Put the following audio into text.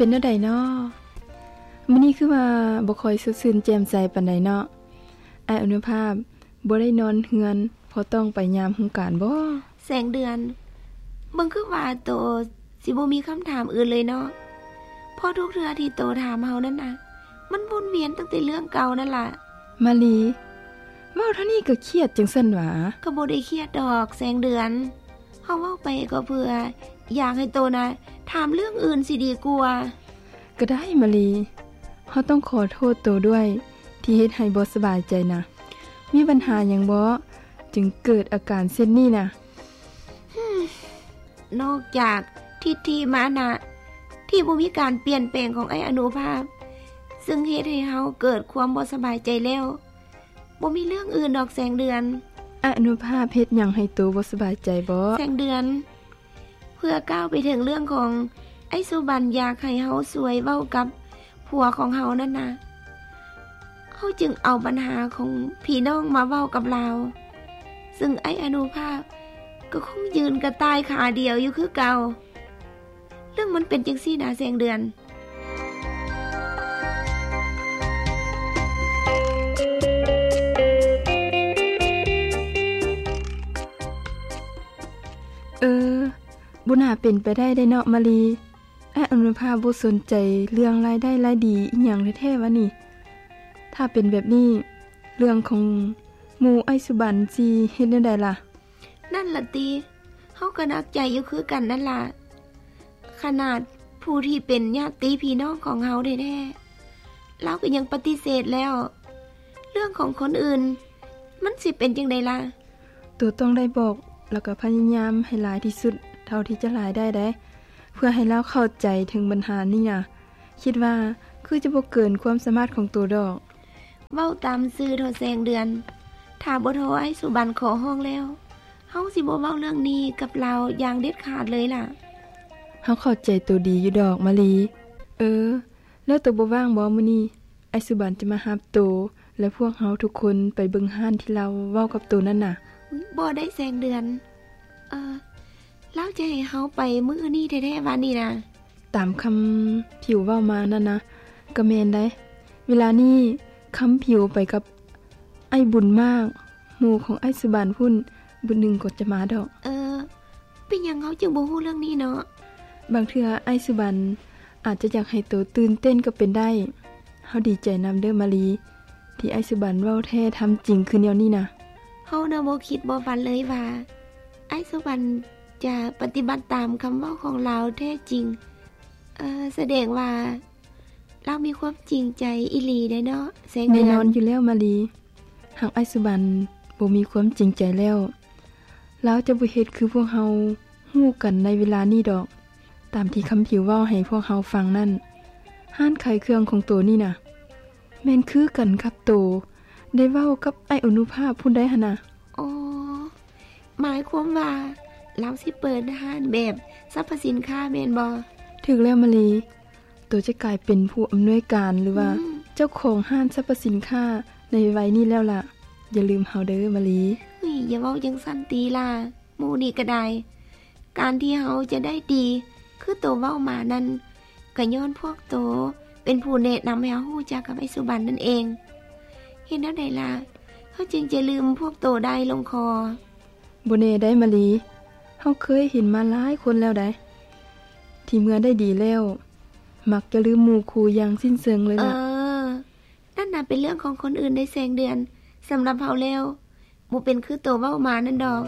ປັນແນວໃດນໍ? ມື້ນີ້ຄືວ່າບໍ່ຄ່ອຍສົດຊື່ນແຈ່ມໃສປານໃດເນາະ. ອ້າຍອະນຸພາບບໍ່ໄດ້ນອນເຮືອນ ເພາະຕ້ອງໄປຍາມໂຮງການບໍ? ແສງເດືອນ, ເບິ່ງຄືວ່າໂຕຊິບໍ່ມີຄຳຖາມອື່ນເລີຍເນາະ, ເພາະທຸກເທື່ອທີ່ໂຕຖາມເຮົານັ້ນນະ ມັນວົນວຽນຕັ້ງແຕ່ເລື່ອງເກົ່ານັ້ນລະ. ມາລີ, ເວົ້າເທົ່ານີ້ກໍຄຽດຈັ່ງຊັ້ນຫວາ? ກໍບໍ່ໄດ້ຄຽດດອກແສງເດືອນ, ເຮົາເວົ້າໄປກໍເພື່ອຢາກໃຫ້ໂຕນະຖາມເລື່ອງອື່ນຊິດີກວ່າ. ກໍໄດ້ມາລີ, ເຮົາຕ້ອງຂໍໂທດໂຕດ້ວຍທີ່ເຮັດໃຫ້ບໍ່ສະບາຍໃຈນະ. ມີບັນຫາຫຍັງບໍ ຈຶ່ງເກີດອາການເຊັ່ນນີ້ນະ? ນອກຈາກທິດຖິມານະທີ່ບໍ່ມີການປ່ຽນແປງຂອງອ້າຍອະນຸພາບ ຊຶ່ງເຮັດໃຫ້ເຮົາເກີດຄວາມບໍ່ສະບາຍໃຈແລ້ວ, ບໍ່ມີເລື່ອງອື່ນດອກແສງເດືອນ. ອະນຸພາບເຮັດຫຍັງໃຫ້ໂຕບໍ່ສະບາຍໃຈບໍ? ແສງເດືອນ, ເພື່ອກ່າວໄປເຖິງເລື່ອງຂອງອ້າຍສຸບັນຢາກໃຫ້ເຮົາຊ່ວຍເວົ້າກັບຜົວຂອງເຮົານັ້ນນະ, ເຮົາຈຶ່ງເອົາບັນຫາຂອງພີ່ນ້ອງມາເວົ້າກັບລາວ, ຊຶ່ງອ້າຍອະນຸພາບກໍຄົງຢືນກະຕ່າຍຂາດຽວຢູ່ຄືເກົ່າ. ເລື່ອງມັນເປັນຈັ່ງຊີ້ນະແສງເດືອນ. ເອີ, ບໍ່ໜ້າເປັນໄປໄດ້ເດ້ເນາະມາລີ. ອ້າຍອະນຸພາບບໍ່ສົນໃຈເລື່ອງລາຍໄດ້ລາຍດີອີ່ຫຍັງແທ້ໆວະນີ້. ຖ້າເປັນແບບນີ້, ເລື່ອງຂອງໝູ່ອ້າຍສຸບັນຊິເຮັດແນວໃດລະ? ນັ້ນລະຕິ, ເຮົາກໍໜັກໃຈຢູ່ຄືກັນນັ້ນລະ. ຂະໜາດຜູ້ທີ່ເປັນຍາດຕິພີ່ນ້ອງຂອງເຮົາແທ້ໆ ລາວກໍຍັງປະຕິເສດແລ້ວ, ເລື່ອງຂອງຄົນອື່ນມັນຊິເປັນຈັ່ງໃດລະ? ໂຕຕ້ອງໄດ້ບອກ ແລ້ວກໍພະຍາຍາມໃຫ້ຫຼາຍທີ່ສຸດເທົ່າທີ່ຈະຫຼາຍໄດ້ເດ້ ເພື່ອໃຫ້ລາວເຂົ້າໃຈເຖິງບັນຫານີ້ນະ. ຄິດວ່າຄືຈະບໍ່ເກີນຄວາມສາມາດຂອງໂຕດອກ. ເວົ້າຕາມຊື່ເຖາະແສງເດືອນ, ຖ້າບໍ່ທໍອ້າຍສຸບັນຂໍຮ້ອງແລ້ວ, ເຮົາຊິບໍ່ເວົ້າເລື່ອງນີ້ກັບລາວຢ່າງເດັດຂາດເລີຍລະ. ເຮົາເຂົ້າໃຈໂຕດີຢູ່ດອກມາລີ. ເອີ, ແລ້ວໂຕບໍ່ວ່າງບໍມື້ນີ້? ອ້າຍສຸບັນຈະມາຮັບໂຕ ແລະ ພວກເຮົາທຸກຄົນໄປເບິ່ງຮ້ານທີ່ລາວເວົ້າກັບໂຕນັ້ນນະ. ບໍ່ໄດ້ແສງເດືອນ. ເອີ, ລາວຈະໃຫ້ເຮົາໄປມື້ນີ້ແທ້ໆວະນີ້ນະ? ຕາມຄຳຜິວເວົ້າມານັ້ນນະ ກໍແມ່ນໄດ໋. ເວລານີ້ຄຳຜິວໄປກັບອ້າຍບຸນມາກ, ໝູ່ຂອງອ້າຍສຸບັນພຸ້ນ, ບຶດໜຶ່ງກໍຈະມາດອກ. ເອີ, ເປັນຫຍັງເຮົາຈຶ່ງບໍ່ຮູ້ເລື່ອງນີ້ເນາະ? ບາງເທື່ອອ້າຍສຸບັນອາດຈະຢາກໃຫ້ໂຕຕື່ນເຕັ້ນກໍເປັນໄດ້. ເຮົາດີໃຈນຳເດີ້ມາລີ ທີ່ອ້າຍສຸບັນເວົ້າແທ້ທຳຈິງຄືແນວນີ້ນະ. ເຮົານະບໍ່ຄິດບໍ່ຝັນເລີຍວ່າ ອ້າຍສຸບັນຈະປະຕິບັດຕາມຄຳເວົ້າຂອງລາວແທ້ຈິງ. ເອີ, ສະແດງວ່າລາວມີຄວາມຈິງໃຈອີ່ຫຼີໄດ໋ເນາະແສງເດືອນ. ແນ່ນອນຢູ່ແລ້ວມາລີ, ຫາກອ້າຍສຸບັນບໍ່ມີຄວາມຈິງໃຈແລ້ວ, ລາວຈະບໍ່ເຮັດຄືພວກເຮົາຮູ້ກັນໃນເວລານີ້ດອກ. ຕາມທີ່ຄຳຜິວເວົ້າໃຫ້ພວກເຮົາຟັງນັ້ນ, ຮ້ານຂາຍເຄື່ອງຂອງໂຕນີ້ນະ ແມ່ນຄືກັນກັບໂຕໄດ້ເວົ້າກັບອ້າຍອະນຸພາບພຸ້ນໄດ໋ຫັ້ນນະ. ອໍ, ໝາຍຄວາມວ່າລາວຊິເປີດຮ້ານແບບສັບພະສິນຄ້າແມ່ນບໍ່? ຖືກແລ້ວມາລີ, ໂຕຈະກາຍເປັນຜູ້ອຳນວຍການ ຫຼືວ່າ ອືມ ເຈົ້າຂອງຮ້ານສັບພະສິນຄ້າໃນໄວໆນີ້ແລ້ວລະ. ຢ່າລືມເຮົາເດີ້ມາລີ. ເຮີ້ຍ, ຢ່າເວົ້າຈັ່ງຊັ້ນຕິລະ. ໝູ່ນີ້ກໍໄດ້. ການທີ່ເຮົາຈະໄດ້ດີຄືໂຕເວົ້າມານັ້ນ ກໍຍ້ອນພວກໂຕເປັນຜູ້ແນະນຳໃຫ້ເຮົາຮູ້ຈັກກັບອ້າຍສຸບັນນັ້ນເອງ. ເຮັດແນວໃດລະ ເຮົາຈຶ່ງຈະລືມພວກໂຕໄດ້ລົງຄໍ? ບໍ່ແນ່ໄດ໋ມາລີ, ເຮົາເຄີຍເຫັນມາຫຼາຍຄົນແລ້ວໄດ໋ ທີ່ເມື່ອໄດ້ດີແລ້ວ ມັກຈະລືມໝູ່ຄູ່ຢ່າງສິ້ນເຊີງເລີຍລະ. ເອີ, ນັ້ນນະເປັນເລື່ອງຂອງຄົນອື່ນໄດ໋ແສງເດືອນ. ສຳລັບເຮົາແລ້ວ ບໍ່ເປັນຄືໂຕເວົ້າມານັ້ນດອກ.